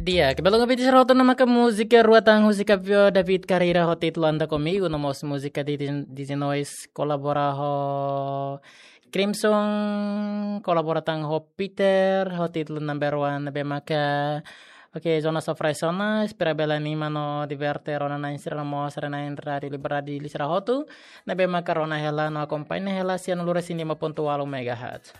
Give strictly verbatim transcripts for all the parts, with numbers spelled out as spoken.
Di'ak, belum nggak bicara hotu, ne'e maka múzika rua tan husi Kapio David Carreira ho títulu Anda Comigo, no mós múzika di Dizinois kolabora ho Crimson, kolabora tan ho Peter ho títulu Number One, ne'ebé maka. Oke, zona sofra zona, espera bele anima no diverte rona-na'in sira no mós haree-na'in Rádio Liberdade Dili sira hotu, ne'ebé maka rona hela no akompaña hela sian lura sin lima ponto walu megahertz.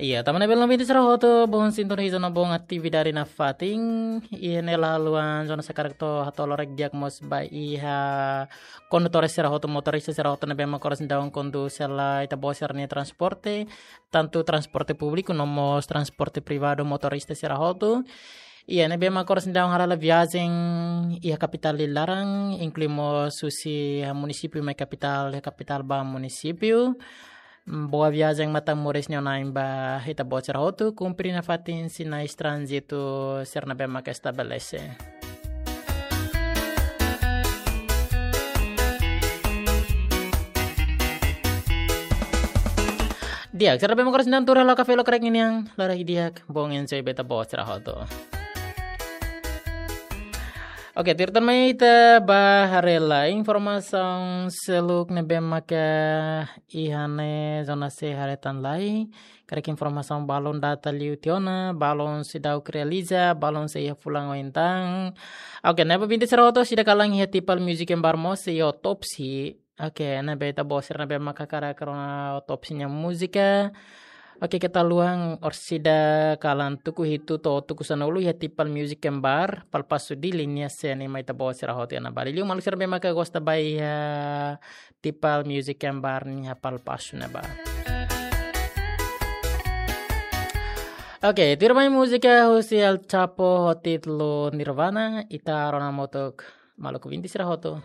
Iya, tanba ne'e belun ouvinte sira hotu, bom sintoniza no bom atividade nafatin. Iha ne'e la haluha zona sakarak to'o hatolorek di'ak mós ba iha kondutór sira hotu, motorista sira hotu ne'ebé maka oras ne'e daudaun kondús hela ita-boot sira-nia transporte, tantu transporte públiku no mós transporte privadu, motorista sira hotu. Iha ne'ebé maka oras ne'e daudaun hala'o viajen iha kapitál nia laran, inklui mós husi munisípiu mai kapitál, iha kapitál ba munisípiu. Boa viajen, matan moris nia oan-na'in ba ita-boot sira hotu, kumpre nafatin sinais tránzitu sira ne'ebé maka estabelese. Di'ak, sira ne'ebé maka oras ne'e daudaun tuur hela kafé lokrek ninian, laran di'ak, bom enjoy ba ita-boot sira hotu. Oke, tuir tan mai ita bá haree lai informasaun seluk ne'ebé maka iha ne'e zona C haree tan lai. Karik informasaun balun data liu tiha ona, balun seidauk realiza, balun sei iha fulan oin tan. Oke, ne'ebé ouvinte sira hotu seidauk kalan iha Tipal Music and Bar mós sei iha otópsia. Oke, ne'ebé ita-boot sira ne'ebé maka hakarak rona otópsia nia múzika. Oke, keta haluha orsida kalan tuku hitu to'o tuku sanulu iha Tipal Music and Bar, Palpasu Dili nia C ne'e mai ita-boot sira hotu iha ne'ebá. Liuliu maluk sira ne'ebé maka gosta bá iha Tipal Music and Bar nia Palpasu ne'ebá. Oke, tuir mai múzika husi El Chapo ho títulu Nirvana, ita rona hamutuk maluk ouvinte sira hotu.